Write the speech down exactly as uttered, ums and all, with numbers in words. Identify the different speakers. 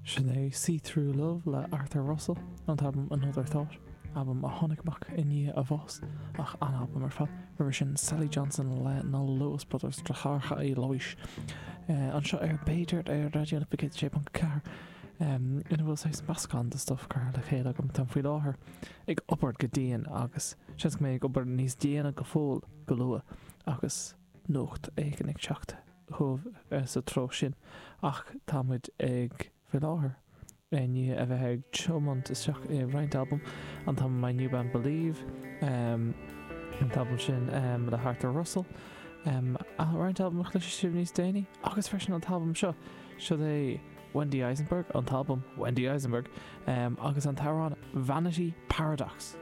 Speaker 1: Sin é See Through Love le Arthur Russell, an t-albam Another Thought, albam a tháinig amach i ndiaidh a bhás, ach an-albam ar fad. Roimhe sin Sally Johnson le na Lewis Brothers, Deartháireacha Uí Labhaois, anseo ar B'fhéidir ar Raidió na Life céad a sé ponc ceathair, ina bhfuil saghas meascán de stuif curtha le chéile agam. Táim faoi láthair ag obair go dian agus seans go mbeidh ag obair níos déine go fóill go luath agus nuacht éigin ag teacht chugaibh sa treo sin ach tá muid ag faoi láthair i ndiaidh a bheith ag tiomáint isteach i roinnt albam, an t-albam My New Band Believe, an t-albam sin le hArthur Russell, roinnt albam a chloisfidh sibh níos déanaí agus freisin an t-albam seo, seo é Wendy Eisenberg, an t-albam Wendy Eisenberg agus an t-amhrán Vanity Paradox.